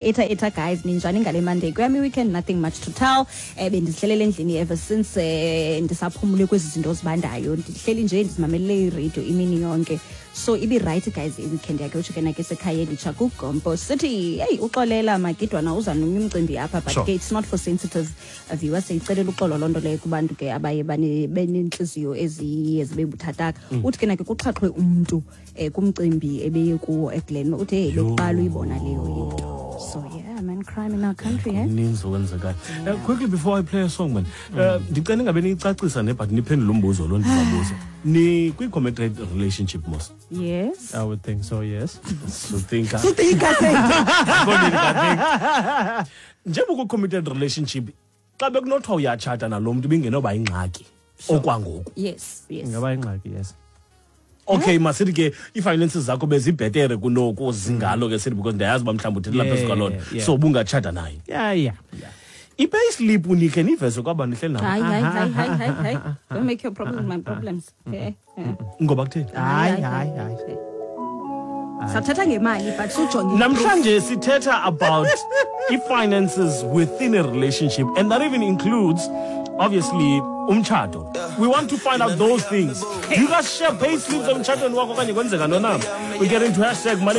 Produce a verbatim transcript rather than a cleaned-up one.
Eta eta guys, ninjani ngale Monday? Kuyami weekend, nothing much to tell. Eh bendizihlelele endlini ever since eh ndisaphumule kwezi zinto zibandayo. Ndihleli nje ndizimamelele iradio imini yonke. So ibi right guys i-weekend yakhe, utsho ke nake sekhaya elitsha kuGompo City. Hey, uxolela magidwana, uza nomnye umcimbi apha, but Sure. ke it's not for sensitive viewers. Siyicelela uxolo loo nto leyo kubantu ke abaye bane- beneentliziyo eziye zibe buthathaka. Uthi ke nake kuxhaxhwe umntu eh kumcimbi ebeye kuwo eGlen. Uthi hey, bekuqala uyibona leyo into. So yeah man, crime in our country, eh? Kuninzi okwenzekayo. Uh, quickly before I play a song, man, uh, ndicela ingabe niyicacisa ne, but niphendule umbuzo lo ndizabuza. Ni kwi-committed relationship mos? Yes. I would think so, yes. So think. Sutika. Njengoba ku-committed relationship, xa bekunothiwa uyatshata nalo mntu, ibingenoba yingxaki okwangoku? yes yes Ingaba ingxaki, yes. Okay, masithi ke ii-finances zakho bezibhetere kunoku zingalo ke sithi, because ndiyayazi uba mhlawumbi uthethela phezu kwaloo nto. Yeah, yeah. So ubungatshata naye? Yeah, yeah. yeah. I-payslip nikhe niveze kwabantu nihleli nabo? Hayi, hayi, hayi, hayi, hayi, hayi, don't make your problems my problems, okay yeah. Ngoba kutheni? Hayi, hayi, hayi. Sathetha ngemali, but sujonge. Namhlanje sithetha about i-finances within a relationship, and that even includes obviously umtshato. We want to find out those things. Do you guys share pay slips emtshatweni wakho okanye kwenzeka ntoni na? We get into hashtag money.